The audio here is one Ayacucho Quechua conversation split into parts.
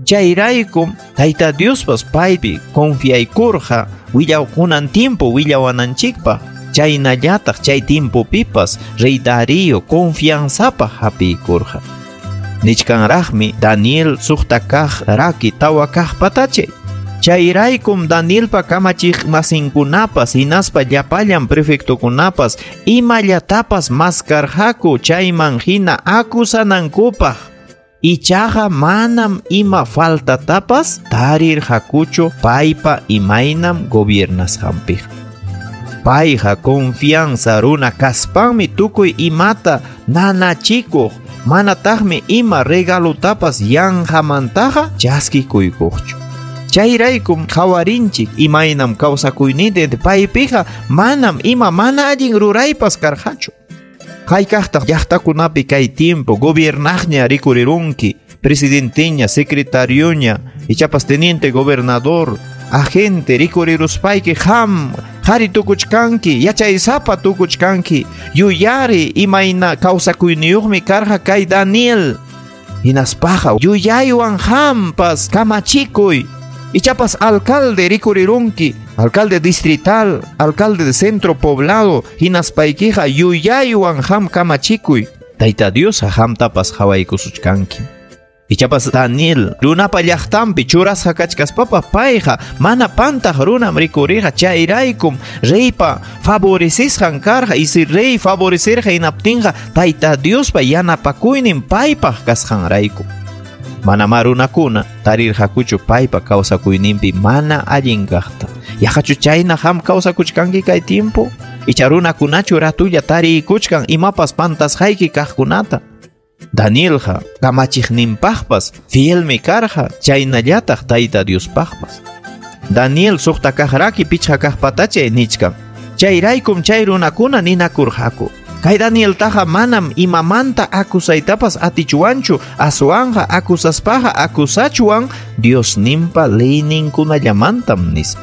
Chayraykum Tayta Diospas paypi confiaykurqa willawkunan tiempo willawananchikpaq. Chaynallataq chay tiempopipas rey Darío confianzapaq hapiykurqa. Nichkanraqmi Daniel suqta kaq raki tawa kaq patachay. Chayraykum Danielpa kamachiq masinkunapas hinaspa llapallan prefectokunapas imallatapas maskarqaku chayman hina akusanankupaq. Ichaqa manam ima faltatapas tarirqakuchu paypa imaynam gobiernasqanpiq. Payqa confianza runa kaspanmi tukuy imata nanachikuq, manataqmi ima regalutapas yanqamantaqa chaskikuykuqchu. Chayraykum qhawarinchik imaynam kawsakuyninta paypiqa manam ima mana allin ruraypas karqachu. Haykaqtaq llaqtakunapi kay tiempo gobiernaqña rikurirunki, presidenteña, secretarioña, ichapas teniente gobernador, agente rikuriruspayki qam qhari tukuchkanki, yachaysapa tukuchkanki, yuyari imayna kawsakuyniyuqmi karqa kay Daniel. Hinaspaqa yuyaywan qampas kamachikuy. Ichapas alcalde rikurirunki, alcalde distrital, alcalde de centro poblado, hinaspaykiqa yuyaywan qam kamachikuy. Tayta Dios qamtapas qhawaykusuchkanki. Ichapas Daniel runapa llaqtanpi churasqa kachkaspapas payqa mana pantaq runam rikuriqa, chayraykum reypa favorecisqan karqa, y si rey favorecerqa hinaptinqa Tayta Diospa yanapakuynin paypaq kasqanrayku. Manamá runakuna tarirqakuchu paypa kawsakuyninpi mana allin kaqta. Yaqachu chayna qam kawsakuchkanki kay tiempo? Icha runakunachu ratulla tariykuchkan imapas pantasqayki kaqkunata. Danielqa kamachiqninpaqpas fielmi karqa, chaynallataq Tayta Diospaqpas. Daniel suqta kaq raki pichqa kaq patachay nichkan. Chayraykum chay runakuna ninakurqaku. Kay Danieltaqa manam imamanta akusaytapas atichuwanchu, aswanqa akusaspaqa akusachuwan Diosninpa leyninkunallamantam nispa.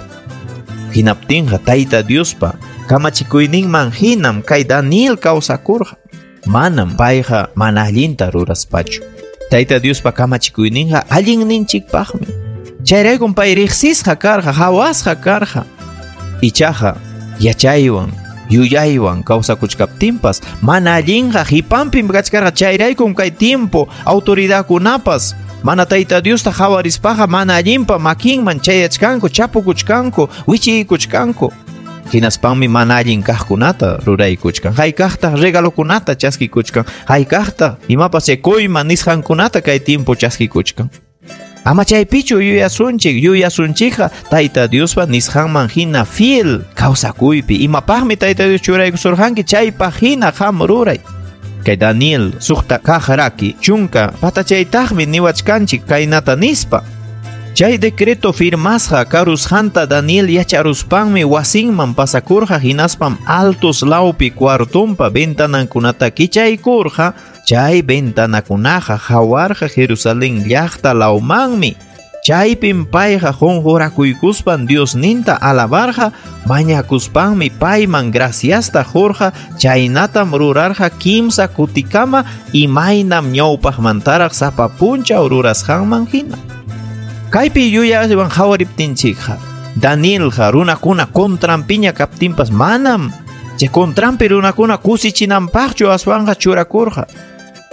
Hinaptinqa Tayta Diospa kamachikuyninman hinam kay Daniel kawsakurqa. Manam payqa mana allinta ruraspachu. Tayta Diospa kamachikuyninqa allinninchikpaqmi. Chayraykum pay riqsisqa karqa, hawasqa karqa. Ichaqa yachaywan yuyaywan kawsakuchkaptinpas mana allinqa qipanpim kachkarqa. Chayraykum kay tiempo autoridadkunapas mana Tayta Diosta qhawarispaqa mana allinpa makinman chayachkanku, chapukuchkanku, wichiykuchkanku. Hinaspanmi mana allin kaqkunata ruraykuchkan. Haykaqtaq regalokunata chaskikuchkan. Haykaqtaq imapas chay kuyma nisqankunata kay tiempo chaskikuchkan. Ama chaypichu yuyasunchik, yuyasunchikqa Tayta Diospa nisqanman hina fiel kawsakuypi. Imapaqmi Tayta Dios churaykusurqanki chaypaq hina qam ruray. Kay Daniel suqta kaq raki chunka patachaytaqmi niwachkanchik kaynata nispa. Chay decreto firmasqa karusqanta Daniel yacharuspanmi wasinman pasakurqa, hinaspam altos lawpi cuartonpa ventanankunata kichaykurqa. Chay ventanakunaqa hawarqa Jerusalén llaqta lawmanmi. Chaypim payqa qunqurakuykuspan Diosninta alabarqa, mañakuspanmi payman graciasta qurqa. Chaynatam rurarqa kimsa kutikama imaynam ñawpaqmantaraq sapa punchaw rurasqanman hina. Kaypi yuyaywan qhawariptinchikqa Danielqa runakuna contranpiña kaptinpas manam chay contranpi runakuna kusichinanpaqchu aswanqa churakurqa.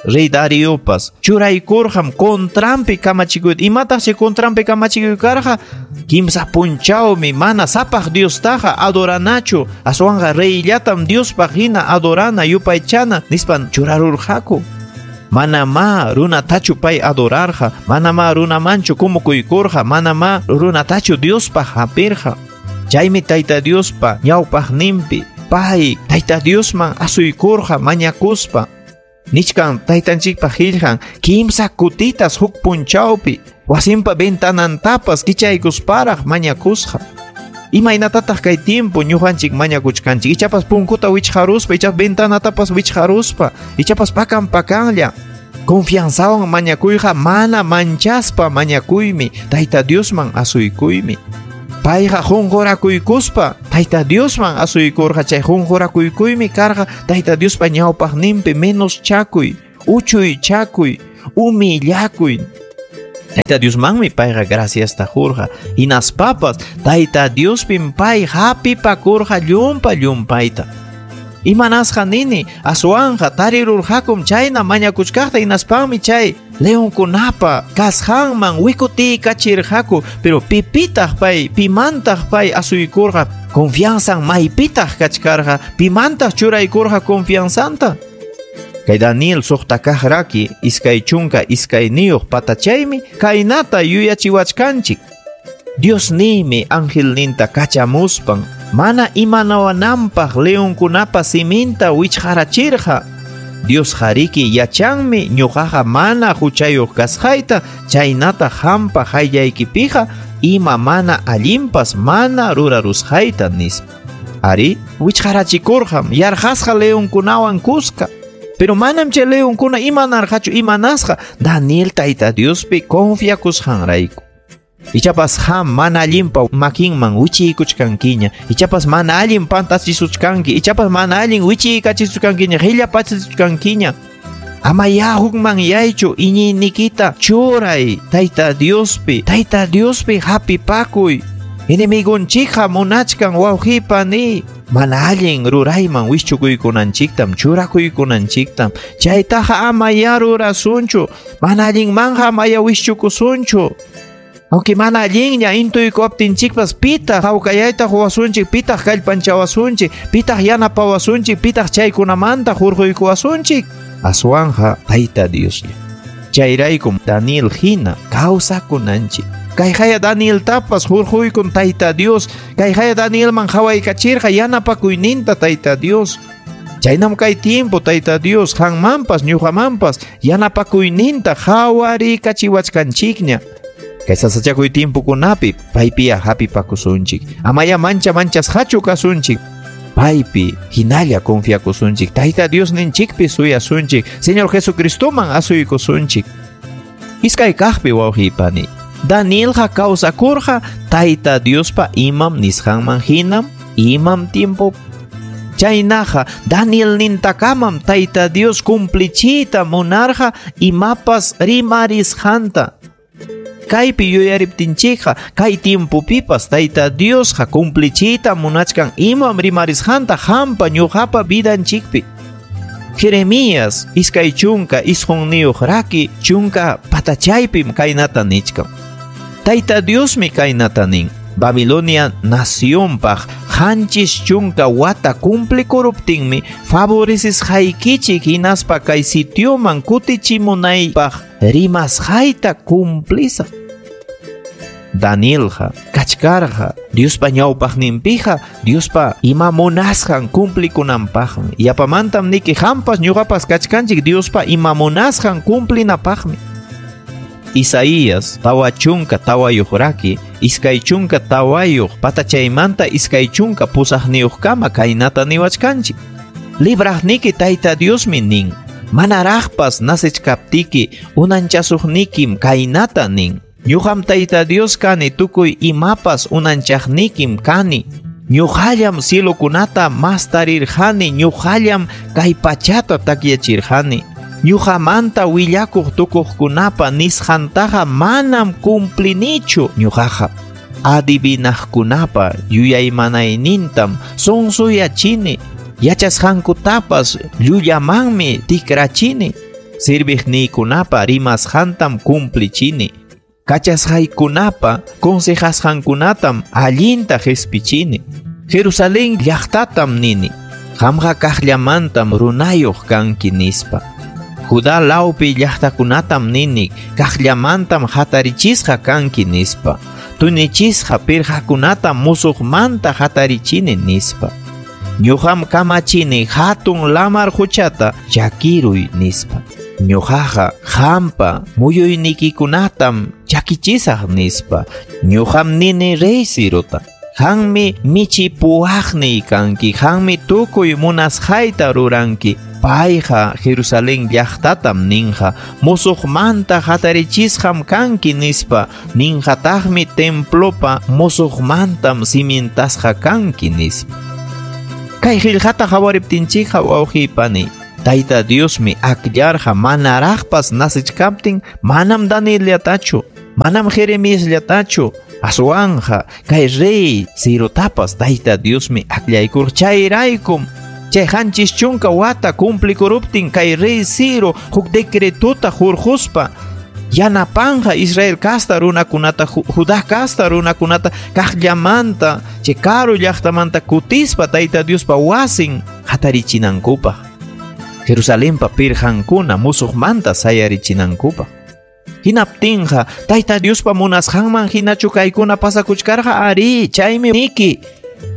Rey Dariopas churaykurqam contranpi kamachikuyta. Imataq chay contranpi kamachikuy karqa? Kimsa punchawmi mana sapaq Diostaqa adoranachu, aswanqa reyllatam Diospaq hina adorana yupaychana nispan churarurqaku. Manamá runatachu pay adorarqa, manamá runamanchu kumukuykurqa, manamá runatachu Diospaq hapirqa. Chaymi Tayta Diospa ñawpaqninpi pay Tayta Diosman asuykurqa mañakuspa. Nichkan taytanchikpa qillqan kimsa kutitas huk punchawpi wasinpa ventanantapas kichaykusparaq mañakusqa. Imaynatataq kay tiempo ñuqanchik mañakuchkanchik? Ichapas punkuta wichqaruspa, ichapas ventanatapas wichqaruspa, ichapas pakan pakanlla. Confianzawan mañakuyqa mana manchaspa mañakuymi, Tayta Diosman asuykuymi. Payqa qunqurakuykuspa Tayta Diosman asuykurqa. Chay qunqurakuykuymi karqa Tayta Diospa ñawpaqninpi menos chakuy, uchuy chakuy, humillakuy. Tayta Diosmanmi payqa graciasta qurqa. Hinaspapas Tayta Diospim pay hapipakurqa llumpa llumpayta. Imanasqa nini, aswanqa tarirurqakum chayna mañakuchkaqta, hinaspanmi chay leonkunapa kasqanman wikutiykachirqaku, pero pipitaq pay, pimantaq pay asuykurqa, confianzan maypitaq kachkarqa, pimantaq churaykurqa confianzanta. Kay Daniel suqta kaq raki 22 patachaymi kaynata yuyachiwachkanchik. Diosniymi angelninta kachamuspan mana imanawananpaq leonkunapa siminta wichqarachirqa. Dios hariki yachanmi ñuqaqa mana huchayuq kasqayta, chaynata hampa hayllaykipiqa ima mana allinpas mana rurarusqayta nispa. Ari, wichqarachikurqam yarqasqa leonkunawan kuska. Pero manam chay leonkuna imanarqachu imanasqa Daniel Tayta Diospi confiakusqanrayku. Ichapas ham mana allinpa makinman wichiykuchkankiña, ichapas mana allin pantachisuchkanki, ichapas mana allin wichiykachisuchkankiña, qillapachisuchkankiña. Ama ya hukman yaychu iñiynikita churay Tayta Diospi, Tayta Diospi hapipakuy. Enemigunchikqa munachkan wawqipa ni mana allin rurayman wischukuykunanchiktam, churakuykunanchiktam. Chaytaqa ama ya rurasunchu, mana allinmanja ama ya wischukusunchu. Aunque mana allinña intuykuwaptinchikpas, pitaq hawkayayta quwasunchik, pitaq kallpanchawasunchik, pitaq yanapawasunchik, pitaq chaykunamanta hurquykuwasunchik. Aswanja Tayta Dioslla. Chayraykum Daniel hina kawsakunanchik. Kayhaya Daniel tapas hurquykun Tayta Dios, kayhaya Danielman hawaykachirqa yanapakuyninta Tayta Dios. Chaynam kay tiempo Tayta Dios hanmanpas ñuqamanpas yanapakuyninta hawarikachiwachkanchikña. Kay sasachakuy tiempokunapi paypiya hapipakusunchik. Amaya mancha manchasqachu kasunchik. Paypi hinalla confiakusunchik. Tayta Diosninchikpi suyasunchik. Señor Jesucristoman asuykusunchik. Iskay kaqpi wawqipani. Danielqa kawsakurqa Tayta Diospa imam nisqanman hinam imam tiempo. Chaynaqa Daniel nintakamam Tayta Dios cumplichiyta munarqa imapas rimarisqanta. Kaypi yuyariptinchikqa kay tiempopipas Tayta Diosqa cumplichiyta munachkan imam rimarisqanta hampa ñuqapa vidanchikpi. Jeremías 29 raki 10 patachaypim kaynata nichkan. Tayta Diosmi kaynata nin. Babilonia nacionpaq 70 wata cumplikuruptinmi favorecisqaykichik hinaspa kay sitioman kutichimunaypaq rimasqayta cumplisaq. Danielqa kachkarqa Diospa ñawpaqninpiqa Diospa ima munasqan cumplikunanpaqmi. Yapamantam niki hampas ñuqapas kachkanchik Diospa ima munasqan cumplinapaqmi. Isaías 44 raki 24 patachaymanta 28 kaynata niwachkanchik. Libraqniki Tayta Diosmi nin, manaraqpas nasechkaptiki unanchasuqnikim kaynata nin. Ñuqam Tayta Dios kani tukuy imapas unanchaqnikim kani. Ñuqallam cielokunata mastarirqani, ñuqallam kay pachata takyachirqani. Ñuqamanta willakuq tukuqkunapa nisqantaqa manam cumplinichu ñuqaqa. Adivinaqkunapa yuyaymanaynintam sonsuyachini, yachasqankutapas llullamanmi tikrachini, serviqniykunapa rimasqantam cumplichini, kachasqaykunapa consejasqankunatam allinta qhispichini. Jerusalén llaqtatam nini, qamqa kaqllamantam runayuq kanki nispa. Judá lawpi llaqtakunatam nini, kaqllamantam hatarichisqa kanki nispa. Tunichisqa pirqakunatam musuqmanta hatarichini nispa. Ñuqam kamachini hatun lamar huchata chakiruy nispa. Ñuqaqa hampa muyuynikikunatam chakichisaq nispa. Ñuqam nini rey Cirota. Hanmi michipuwaqniy kanki, hanmi tukuy munasqayta ruranki. Payqa Jerusalén llaqtatam ninqa, musuqmanta hatarichisqam kanki nispa, ninqataqmi templopa musuqmantam cimientasqa kanki nispa. Kay qillqata hawariptinchikqa wawqipani, Tayta Diosmi akllarqa manaraqpas nasichkaptin manam Danielllatachu. Manam Jeremiasllatachu, aswanqa kay rey Cirotapas Tayta Diosmi akllaykurqa. Chayraykum chay 70 wata cumplikuruptin kay rey Ciro huk decretota hurquspa yanapanqa Israel casta runakunata, Judá casta runakunata kaqllamanta chay karu llaqtamanta kutispa Tayta Diospa wasin hatarichinankupaq, Jerusalenpa pirqankuna musuqmanta sayarichinankupaq. Hinaptinqa Tayta Diospa munasqanman hinachu kaykuna pasakuchkarqa? Ari, chaymi niki.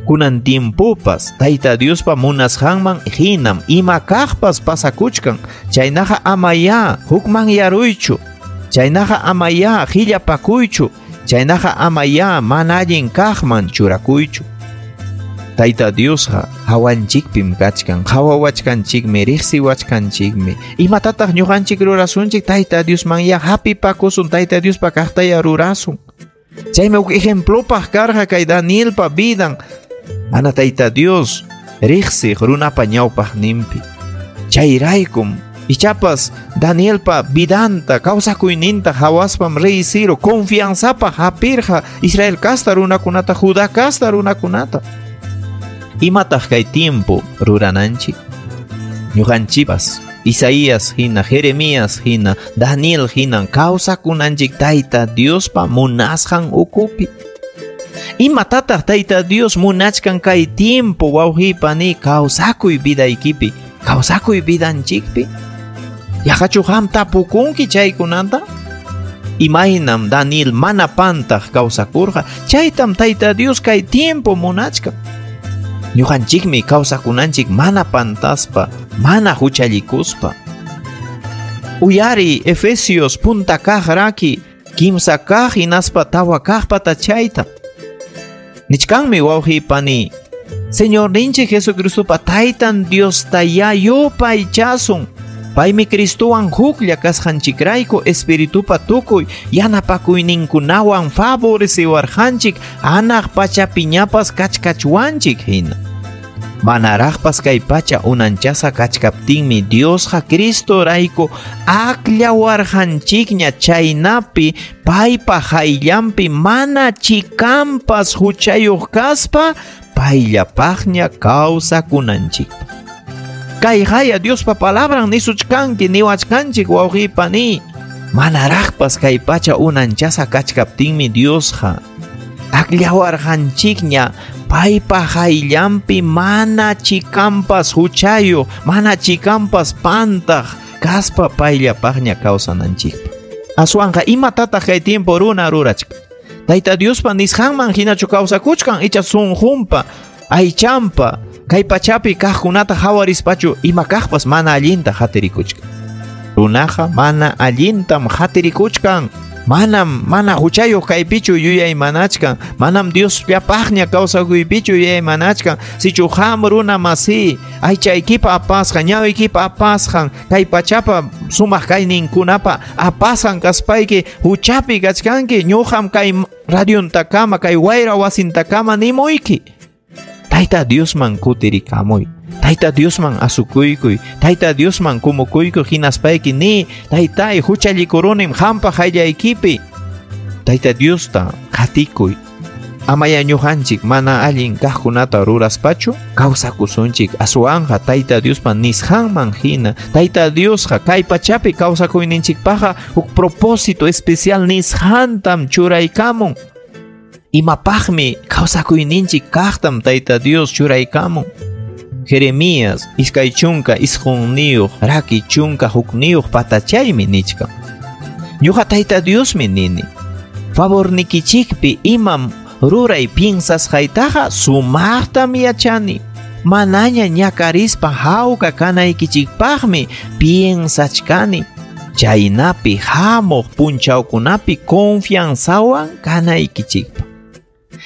Kunan tiempopas Tayta Diospa munasqanman hinam ima kaqpas pasakuchkan. Chaynaqa amaya hukmanyaruychu, chaynaqa amaya qillapakuychu, chaynaqa amaya mana allin kaqman churakuychu. Tayta Diosqa hawanchikpim kachkan, qhawawachkanchikmi, riqsiwachkanchikmi. Imatataq ñuqanchik rurasunchik? Tayta Diosman ya hapipakusun, Tayta Diospa kaqtaya rurasun. Chaymi huk ejemplopaq karqa kay Danielpa vidan, mana Tayta Dios riqsiq runapa ñawpaqninpi. Chayraykum ichapas Danielpa vidanta, kawsakuyninta hawaspam rey Ciro confianzapaq hapirqa Israel casta runakunata, Judá casta runakunata. Imataq kay tiempo rurananchik? Ñuqanchipas Isaías hina, Jeremías hina, Daniel hina kawsakunanchik Tayta Diospa munasqan ukupi. Imatataq Tayta Dios munachkan kay tiempo wawqipani kawsakuy vidaykipi, kawsakuy vidanchikpi? Yaqachu qam tapukunki chaykunata? Imaynam Daniel mana pantaq kawsakurqa, chaytam Tayta Dios kay tiempo munachkan. Ñuqanchikmi kawsakunanchik mana pantaspa, mana huchallikuspa. Uyari Efesios punta kaq raki, 3 kaq hinaspa 4 kaq patachayta. Nichkanmi wawqipani, Señorninchik Jesucristopa Taytan Diostayá yupaychasun. Paymi Cristowan huklla kasqanchikrayku Espiritupa tukuy yanapakuyninkunawan favoreciwarqanchik anaq pachapiñapas kachkachwanchik hina. Manaraqpas kay pacha unanchasqa kachkaptinmi Diosqa Cristorayku akllawarqanchikña, chaynapi paypa hayllanpi mana chikampas huchayuq kaspa payllapaqña kawsakunanchikpaq. Kay haya Diospa palabran nisuchkanki niwachkanchik wawqipani. Manaraqpas kay pacha unanchasqa kachkaptinmi Diosqa akllawarqanchikña paypa hayllanpi mana chikampas huchayuq, mana chikampas pantaq kaspa payllapaqña kawsananchikpaq. Aswanqa imatataq kay tiempo runa rurachkan? Tayta Diospa nisqanman hinachu kawsakuchkan icha sunqunpa, aychanpa, kay pachapi kaqkunata hawarispachu ima kaqpas mana allinta hatirikuchkan? Runaqa mana allintam hatirikuchkan. Manam mana huchayuq kaypichu yuyaymanachkan, manam Diosllapaqña kawsakuypichu yuyaymanachkan. Sichu qam runa masi, aychaykipa apasqan, ñawiykipa apasqan, kay pachapa sumaq kayninkunapa apasqan kaspayki huchapi kachkanki, ñuqam kay radiontakama, kay wayra wasintakama nimuyki. Tayta Diosman kutirikamuy, Tayta Diosman asukuykuy, Tayta Diosman kumukuykuy hinaspayki ni, Taytay huchallikurunim qampa hayllaykipi. Tayta Diosta qatikuy. Amaya ñuqanchik mana allin kaqkunata ruraspachu kawsakusunchik, aswanqa Tayta Diospa nisqanman hina. Tayta Diosqa kay pachapi kawsakuyninchikpaqqa huk propósito especial nisqantam churaykamun. Imapaqmi kawsakuyninchik kaqtam Tayta Dios churaykamun. Jeremías 29 raki 11 patachaymi nichkan. Ñuqa Tayta Diosmi nini, favornikichikpi imam ruray piensasqaytaqa sumaqtam yachani. Manaña ñakarispa hawka kanaykichikpaqmi piensachkani. Chaynapi hamuq punchawkunapi confianzawan kanaykichikpaq.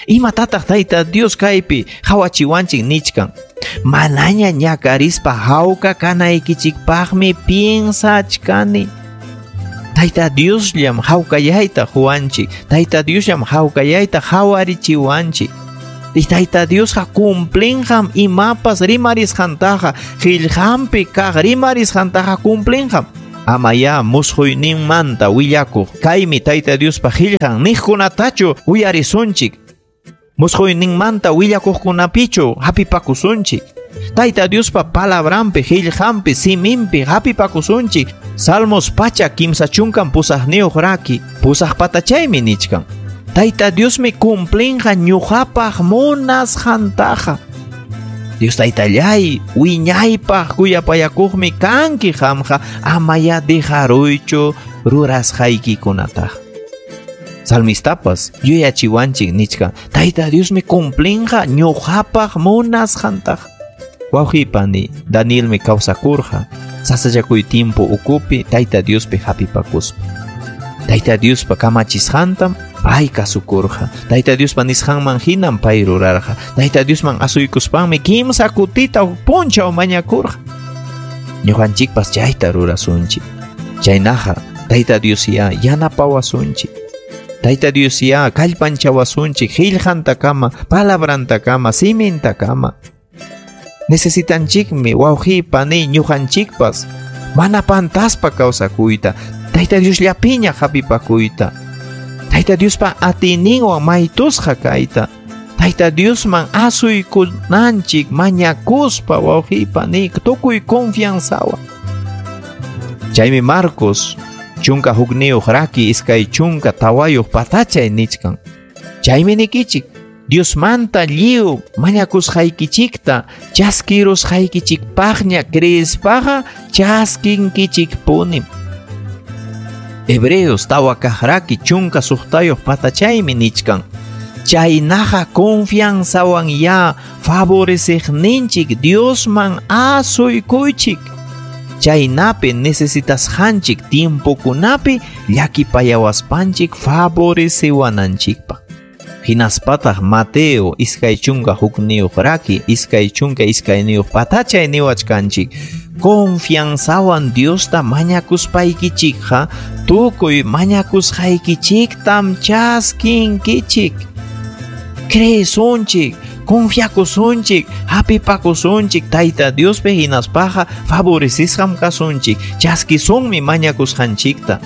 Imatataq Tayta Dios kaypi hawachiwanchik nichkan? Manaña ñakarispa hawka kanaykichikpaqmi piensachkani. Tayta Diosllam hawkayayta huwanchik, Tayta Diosllam hawkayayta hawarichiwanchik. Y Tayta Diosqa cumplinqam imapas rimarisqantaqa, qillqanpi kaq rimarisqantaqa cumplinqam. Amayá musquyninmanta willakuq kaymi Tayta Diospa qillqan niqkunatachu uyarisunchik. Musquyninmanta willakuqkunapichu hapipakusunchik. Tayta Diospa palabranpi, qillqanpi, siminpi hapipakusunchik. Salmos 138 raki, 8 patachaymi nichkan. Tayta Diosmi cumplinqa ñuqapaq munasqantaqa. Dios taytallay, wiñaypaq kuyapayakuqmi kanki qamqa, amaya dejaruychu rurasqaykikunataqa. Salmistapas yuyachiwanchik nichkan, Tayta Diosmi cumplinqa ñuqapaq munasqantaqa. Wawqipani, Danielmi kawsakurqa, sasachakuy tiempo ukupi Tayta Diospi hapipakuspa. Tayta Diospa kamachisqantam pay kasukurqa. Tayta Diospa nisqanman hinam pay rurarqa. Tayta Diosman asuykuspanmi 3 kutita punchaw mañakurqa. Ñuqanchikpas chayta rurasunchik. Chaynaqa Tayta Dios ya yanapawasunchik. Tayta Dios ya kallpanchawasunchik qillqantakama, palabrantakama, simintakama. Necesitanchikmi wawqipani ñuqanchikpas mana pantaspa kawsakuyta, Tayta Diosllapiña hapipakuyta, Tayta Diospa atiyninwan maytusqa kayta, Tayta Diosman asuykunanchik mañakuspa wawqipani tukuy confianzawan. Chaymi Marcos 11 raki 24 patachay nichkan. Chaymi nikichik, Diosmanta lliw mañakusqaykichikta chaskirusqaykichikpaqña creespaqa chaskinkichikpunim. Hebreos 4 raki 16 patachaymi nichkan. Chaynaqa confianzawan ya favoreceqninchik Diosman asuykuychik. Chaynapi necesitasqanchik tiempokunapi llakipayawaspanchik favorecewananchikpaq. Hinaspataq Mateo 21 raki 22 patachay niwachkanchik. Confianzawan Diosta mañakuspaykichikqa tukuy mañakusqaykichiktam chaskinkichik. Creesunchik, confiakusunchik, hapipakusunchik Tayta Diospi hinaspaqa favorecisqam kasunchik, chaskisunmi mañakusqanchikta.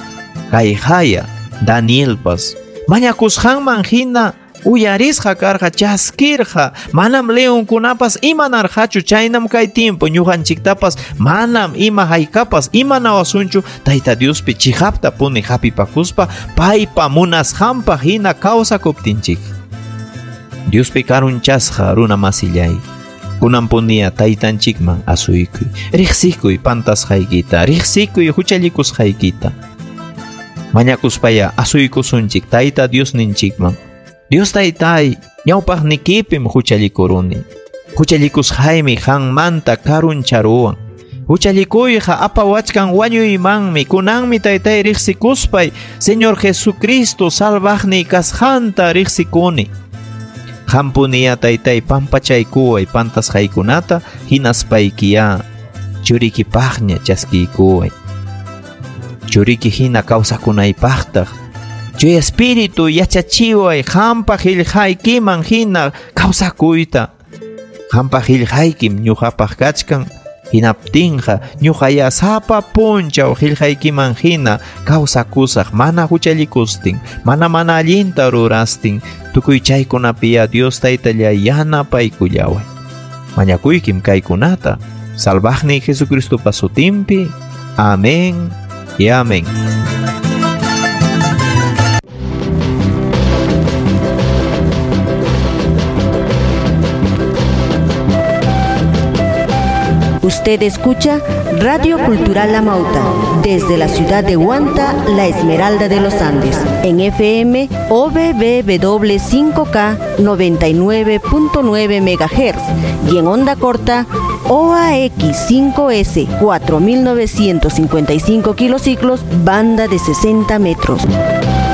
Kayhaya Danielpas mañakusqanman hina uyarisqa karqa, chaskirqa, manam leonkunapas imanarqachu. Chaynam kay tiempo ñuqanchiktapas manam ima haykapas imanawasunchu Tayta Diospi chiqapta puni hapipakuspa paypa munasqanpaq hina kawsakuptinchik. Diospi karunchasqa runa masillay, kunan punia taytanchikman asuykuy, riqsikuy pantasqaykita, riqsikuy huchallikusqaykita. Mañakuspaya asuykusunchik Tayta Diosninchikman. Dios taytay, ñawpaqnikipim huchallikuruni. Huchallikusqaymi qanmanta karuncharuwan. Huchallikuyqa apawachkan wañuymanmi. Kunanmi taytay riqsikuspay Señor Jesucristo salvaqniy kasqanta riqsikuni. Qampuniya taytay pampachaykuway pantasqaykunata hinaspaykiya churikipaqña chaskiykuway. Churiki hina kawsakunaypaqtaq Chuy espíritu yachachiway qampa qillqaykiman hina kawsakuyta. Qampa qillqaykim ñuqapaq kachkan hinaptinqa ñuqaya sapa punchaw qillqaykiman hina kawsakusaq mana huchallikustin, mana allinta rurastin. Tukuy chaykunapiya Dios taytallay yanapaykullaway. Mañakuykim kaykunata Salvaqniy Jesucristopa sutinpi. Amén y amén. Usted escucha Radio Cultural Amauta, desde la ciudad de Huanta, la Esmeralda de los Andes, en FM OBBW 5K 99.9 MHz y en onda corta OAX 5S 4955 kilociclos, banda de 60 metros.